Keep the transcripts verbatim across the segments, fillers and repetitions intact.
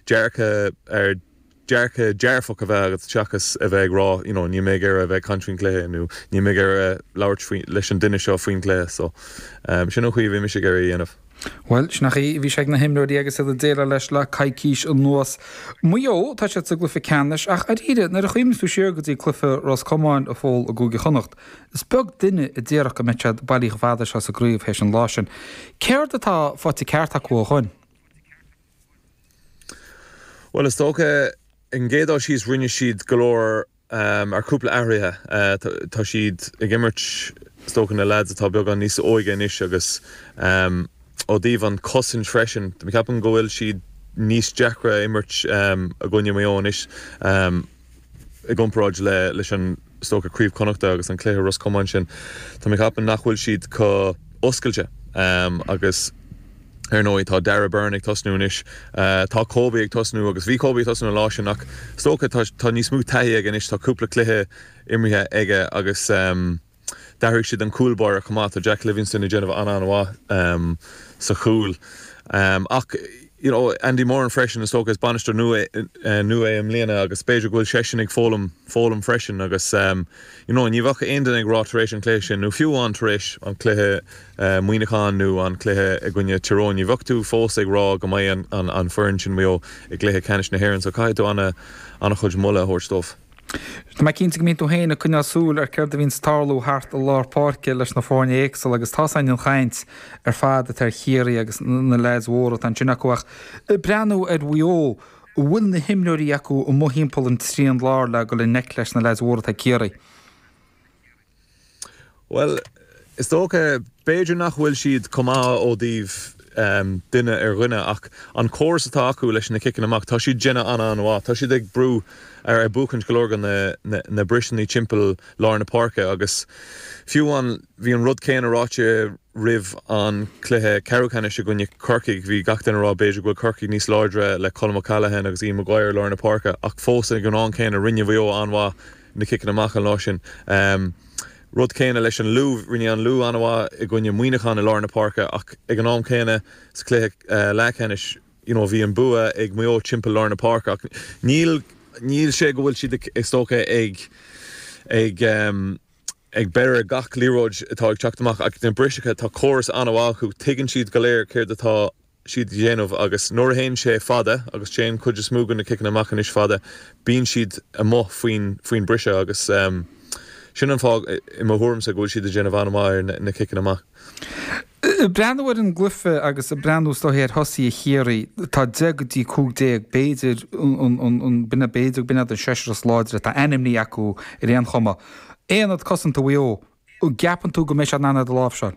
Dearcadh ar dearcadh dearfach a bheith agat seachas a bheith ag rá you know, níl mé ag iarraidh a bheith ag caint faoin cluiche nó níl mé ag iarraidh labhairt leis an duine seo faoin cluiche so um, sin an chaoi a bhí mise ag iarraidh a dhéanamh. Well, sin an chaoi a bhí sé ag na himreoirí agus iad ag déileáil leis le coicís anuas. Maigh Eo tá siad sa gcluiche ceannais ach arís nuair a chuimhníonn tú siar go dtí cluiche Ros Comáin a Phóil i gCúige Chonnacht. Is beag duine a déarfadh go mbeadh siad bailí chomh fada seo sa gcraobh théis an lá sin. Céard atá faighte ceart acu ó shin? Well is dócha an gcéad dul síos rinne siad go leor um, ar cúpla athruithe uh, tá siad ag imirt is dócha na lads atá beagán níos óige anois agus um, ó dtaobh an chosaint freisin ceapaim go bhfuil siad níos deacra imirt um, i gcoinne Maigh Eo anois um, i gcomparáid le leis an is dócha Craobh Chonnachta agus an cluiche Ros Comáin sin Tá mé ag ceapadh nach bhfuil siad chomh oscailte um, agus ar ndóigh tá Darragh Beirne ag tosnú anois uh, tá Kobe ag tosnú agus bhí Kobe ag tosnú an lá sin ach is dócha tá níos mó taithí aige anois tá cúpla cluiche imeartha aige agus um, d'athraigh siad an cúl báire chomh maith tá Jack Livingston ag déanamh an-an-mhaith um, sa chúl. Um, ach you know, Andy Moran freisin is dócha is bainisteoir nua uh, nua i mbliana agus b'fhéidir go bhfuil seisean ag foghlaim foghlaim freisin agus um, you know, ní bheadh aon duine ag rá tar éis an cluiche sin nó fiú an tar éis an cluiche uh, Muineachán nó an cluiche i gcoinne Tyrone, ní bheadh tú fós ag rá go mbeidh an, an, an foireann sin Maigh Eo i gcluiche ceannais na hÉireann, so caithfidh tú an an-chuid moladh a thabhairt dóibh. Tá mé cinnte go mbíonn tú féin ag coinneáil súil ar céard a bhíonn ag tarlú thart i lár páirce leis na foirne éagsúla agus tá an chaint ar fad atá ar Chiarraí agus na lads mhóra atá ansin acu ach breathnú ar Mhaigh Eo bhfuil na himreoirí acu amuigh thimpeall an trian lár le go le neic leis na lads mhóra atá Ciarraí. Well, is dócha b'fhéidir nach bhfuil siad chomh maith ó dtaobh um, duine ar dhuine ach an córas atá acu leis na ciceanna amach tá siad déanamh an-an-mhaith Tá siad ag brú ar ag buachaint go leor na, na, na briseanna timpeall lár na páirce agus fiú an bhí an rud céanna ráite roimh an cluiche ceathrú ceannais i gcoinne Corcaigh bhí gach duine ag rá b'fhéidir go bhfuil Corcaigh níos láidre le Colm O'Callaghan agus Ian Maguire lár na páirce ach fós ag an am céanna rinne Maigh Eo an-mhaith na ciceanna amach an lá sin. Um, Rud céanna leis an Lú rinne an Lú an-mhaith i gcoinne Muineachán i lár na páirce ach ag an am céanna sa cluiche uh, leathcheannais you know, bhí an bua ag Maigh Eo timpeall lár na páirce ach níl níl sé go bhfuil siad is dócha ag ag um, ag breith gach liathróid atá ag teacht amach ach na briseacha tá córas an-mhaith acu tuigeann siad go léir céard atá siad a dhéanamh agus nuair a théann sé fada agus téann cuid is mó de na ciceanna amach anois fada bíonn siad amuigh faoin faoin briseadh agus um, sin an fáth i mo thuairimse go bhfuil siad ag déanamh an-mhaith ar na, na ciceanna amach. Breathnú ar an gcluiche agus breathnú ar thosaithe Chiarraí tá deich go dtí cúig déag b'fhéidir an binne b'fhéidir b'in an seisear is láidre tá ainmní acu ar aon chuma. Aonad cosanta Mhaigh Eo, gceapann tú go mbeidh sé in ann iad a láimhseáil.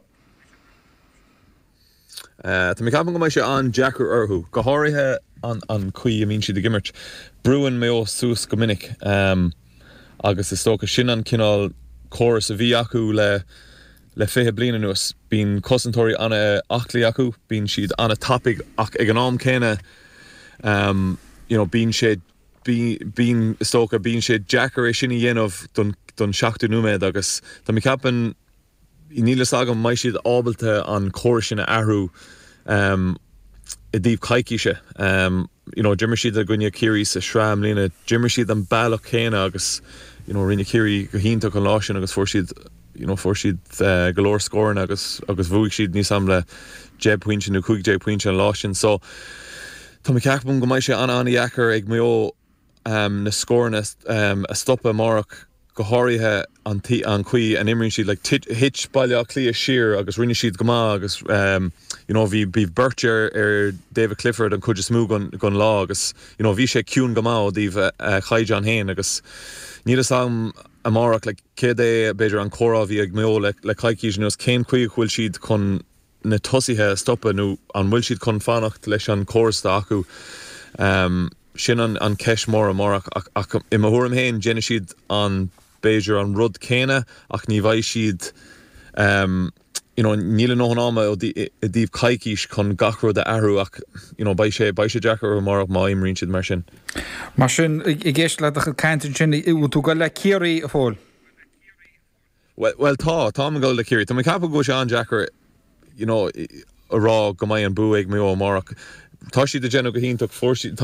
Uh, Tá mé ag ceapadh go mbeidh sé an-deacair orthu, go háirithe an, an chaoi a mbíonn siad ag imirt. Brúann Maigh Eo suas go minic um, agus is dócha sin an cineál córas a bhí acu le le fiche bliain anuas bíonn cosantóirí an-aclaí acu, bíonn siad an-tapaidh ach ag an am céanna um, you know, bíonn sé bíonn is dócha bíonn sé deacair é sin a dhéanamh don, don seachtó nóiméad agus Tá mé ag ceapadh níl a fhios agam an mbeidh siad ábalta an córas sin a athrú um, i dtaobh coicíse. Um, you know, d'imir siad i gcoinne Ciarraí sa sraith i mbliana, d'imir siad an bealach céanna agus you know, rinne Ciarraí go hiontach an lá sin agus fuair siad you know, fuair siad uh, go leor scóranna agus agus bhuaigh siad níos am le deich bpointe nó cúig déag pointe an lá sin. So Tá mé ag ceapadh go mbeidh sé an-an-deacair ag Maigh Eo um, na scóranna um, a stopadh amárach go háirithe an an chaoi a n-imríonn siad like, thit Baile Átha Cliath siar agus rinne siad go maith agus um, you know, bhí bhí beirt ar ar David Clifford an chuid is mó den, den lá agus you know, bhí sé ciúin go maith ó dtaobh uh, caighdeán féin agus níl a fhios agam amárach le céad é b'fhéidir an comhrá a bhí ag Maigh Eo le, le coicís anuas cén chaoi bhfuil siad chun na tosaithe a stopadh nó an bhfuil siad chun fanacht leis an córas atá acu. Um, sin an, an ceist mór amárach ach, ach i mo thuairim féin déanfaidh siad an b'fhéidir an rud céanna ach ní bheidh siad um, you know, níl a ndóthain ama i dtaobh coicís chun gach rud a athrú ach you know, beidh sé beidh sé deacair amárach má imríonn siad mar sin. Mar sin ag éisteacht le do chuid cainte sin bhfuil tú ag dul le Ciarraí a Phóil. Well, well tá tá go le Ciarraí Tá mé ag ceapadh go sé an-deacair you know, a rá go mbeidh an bua ag Maigh Eo amárach. Tá siad ag déanamh go hiontach fuair siad